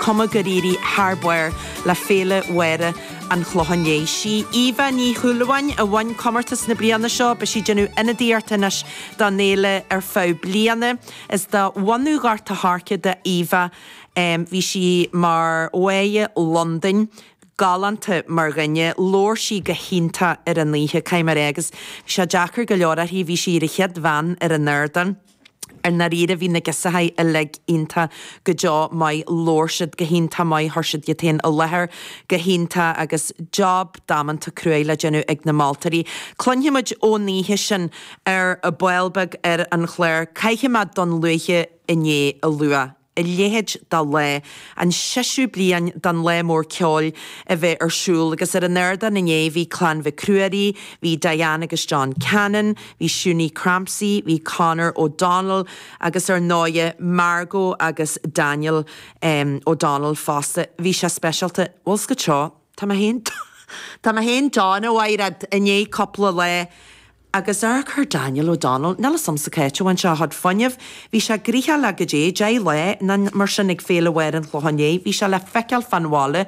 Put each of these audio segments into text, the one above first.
cuma gur éirigh thar barr le Féile Mháire an Chlocháin Léith. Sí Eva Ní Shúilleabháin a bhain comórtas na bliana seo. Beidh sí ag déanamh ionadaíocht anois don fhéile ar feadh bliana. Is de bhunadh Ghort a' Choirce do Eva. Bhí sí mar Mháire Londain. Galánta mar dhuine. Labhair sí go hiontach ar an oíche, caithfidh mé a rá, agus bhí sé deacair go leor uirthi, bhí sí ar an chéad bhean ar an ardán. I ndáiríre bhí na girseachaí uilig iontach go deo maith, labhair siad go hiontach maith, chuir siad iad féin i láthair go hiontach agus job damanta cruaidh le déanamh ag na moltóirí. Cluinfidh muid ón oíche sin ar ball beag ar an chlár. Caithfidh mé Dún Lúiche inné a lua. A leithéid de lá, an seisiú bliain den Lá Mór Ceoil a bheith ar siúl agus ar an ardán inné bhí Clann Mhic Ruairí, bhí Diane agus John Cannon, bhí Shunie Crampsey, bhí Conor O'Donnell agus ar ndóighe Margot agus Daniel O'Donnell fosta. Bhí sé speisialta. Bhfuil 's agat seo, tá mé féin, tá mé féin dona a Mhaighread i ndiaidh cúpla lá. Agus amharc ar Daniel O'Donnell, níl 'fhios a'msa cá háit a bhain sé a chuid fuinnimh. Bhí sé gnoitheach le goidé 10 lá nó mar sin ag Féile Mháire an Chlocháin Léith. Bhí sé le feiceáil fán bhaile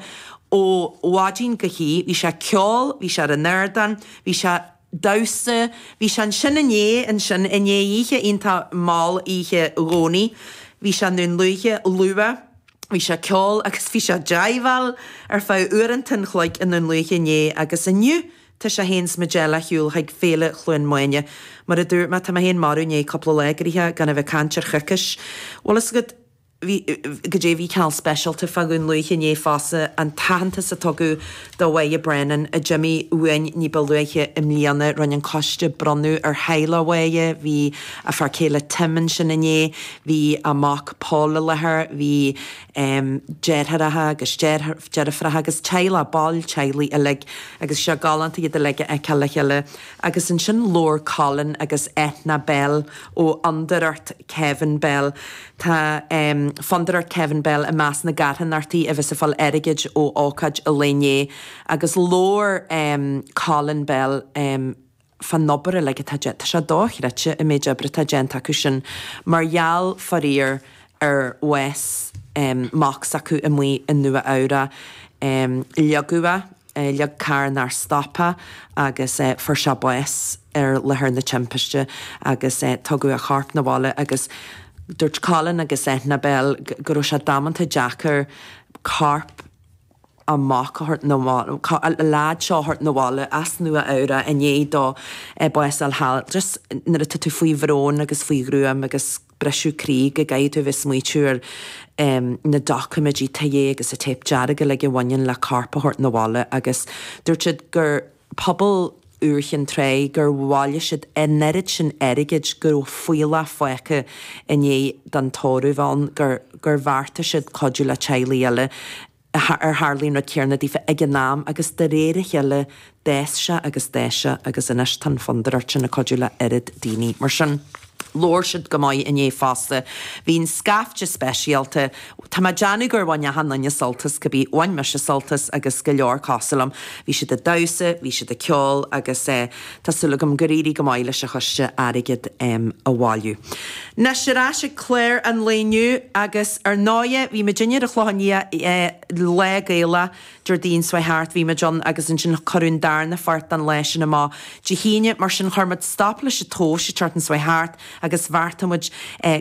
ó mhaidin go hoíche. Bhí sé ag ceol, bhí sé ar an ardán, bhí sé ag damhsa, bhí sé ansin inné, ansin i ndiaidh oíche iontach mall oíche Dhomhnaigh. Bhí sé i nDún Lúiche luath. Bhí sé ag ceol agus bhí sé ag jiveáil ar feadh uaireanta an chloig i nDún Lúiche inné agus inniu Tá sé féin 's muid eile ar shiúl chuig Féile Chluain Maine. Mar a dúirt mé, tá mé féin marbh i ndiaidh cúpla lá gnoitheach gan a bheith ag caint ar choicís. Bhfuil fhios agat, bhí, goidé bhí cineál speisialta fá Dhún Lúiche inné fosta, an t-aitheantas a tugadh do Mháire Brennan a d'imigh uainn ní ba luaithe i mbliana. Rinne an coiste bronnadh ar theaghlach Mháire, bhí a fear céile Tim ansin inné, bhí a mac Paul i láthair, bhí deartháireacha agus deirfiúracha agus teaghlach, baill teaghlaigh uilig agus sé galánta iad uilig a fheiceáil le chéile. Agus ansin labhair Colin agus Eithne Bell ó Fhondúireacht Kevin Bell. Tá Fondúireacht Kevin Bell i measc na gcarthanachtaí a bheas ag fáil airgid ó ócáid an lae inné agus labhair Colin Bell, fán obair uilig atá déanta. Tá sé dochreidte an méid oibre atá déanta acu sin mar gheall, faraor, ar bhás mac s'acu amuigh i Nua Eabhrac. Leagadh é, leag carr nár stop é agus fuair sé bás ar láthair na timpiste agus tugadh a chorp 'na bhaile agus dúirt Colin agus Eithne Bell go raibh sé damanta deacair corp a mac a thabhairt 'na bhaile, an leaid seo a thabhairt 'na bhaile as Nua Eabhrac i ndiaidh dó bás a fháil thall. Just nuair atá tú faoi bhrón agus faoi ghruaim agus briseadh croí go gcaithfidh tú a bheith ag smaoitiú ar na doiciméidí tithe agus an téip dearg uilig a bhaineann le corp a thabhairt 'na bhaile agus dúirt siad gur pobal úr Chinn Trá gur bhailigh siad an oiread sin airgid go raibh fuíollach fágtha i ndiaidh don tórramh ann gur gur bheartaigh siad cuidiú le teaghlaigh eile ar tharlaigh an rud céanna daofa ag an am agus de réir a chéile d'fhás sé agus d'fhás sé agus anois tá an fondúireacht sin ag cuidiú le oiread daoine mar sin. Labhair siad go maith inné fosta. Bhí an scaifte speisialta. Tá mé ag déanamh gur bhain achan duine sult as, cibé, bhain mise sult as agus go leor cosúil liom. Bhí siad ag damhsa, bhí siad ag ceol agus tá súil agam gur éirigh go maith leis an choiste airgead a bhailiú. Anois ar ais ag clár an lae inniu agus ar ndóighe bhí muidinne ar an Chlochán Liath Lá Gaelach Déardaoin seo chuaigh thart, bhí muid ann agus ansin cuireadh an darna pháirt den lá sin amach Dé hAoine, mar sin chuir muid stop leis an tomhas an tseachtain seo chuaigh thart agus bheartaigh muid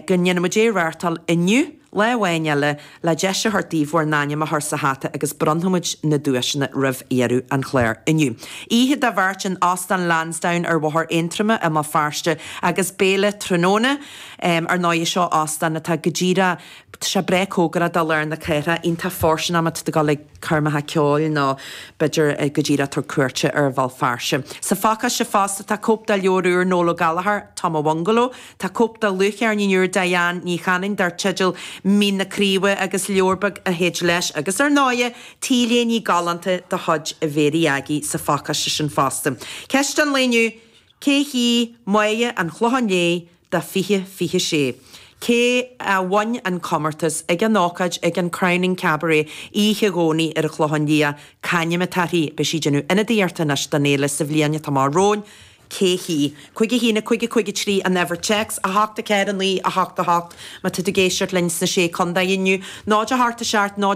go ndéanfaidh muid é a reáchtáil inniu, lá amháin eile, le deis a thabhairt daoibh bhur n-ainm a chur sa hata agus bronnfaidh muid na duaiseanna roimh dheireadh an chláir inniu. Oíche do bheirt in Óstán Lansdowne ar Bhóthar Aontroma i mBéal Feirste agus béile tráthnóna. Ar ndóigh, seo óstán atá go díreach Tá sé breá cóngarach do lár na cathrach, iontach fóirsteanach má tá tú ag dul ag coirmeacha ceoil nó b'fhéidir go díreach ag tabhairt cuairte ar Bhéal Feirste. Sa phacáiste fosta tá cóip de leabhar úr Noel Ó Gallchóir, Tom a' Bhungaló, tá cóip de dhlúthcheirnín úr Diane Ní Chanainn dar teideal Mín na Craoibhe agus leabhar beag a théid leis agus ar ndóighe T-léine galánta de chuid Mhéirí Aggie sa phacáiste sin fosta. Ceist an lae inniu, Cé hí Máire an Chlocháin Léith do 2026? Cé a bhain an comórtas ag an ócáid ag an Crowning Cabaret oíche Dhomhnaigh ar an Chlochán Liath? C'ainm atá uirthi? Beidh sí ag déanamh ionadaíochta anois don fhéile sa bhliain atá amach romhainn. Cé hí? 5 1 5 5 3 an uimhir téacs, 8 4 9 8 8 má tá tú ag éisteacht linn sna Sé Contae inniu, 0 8 7 0.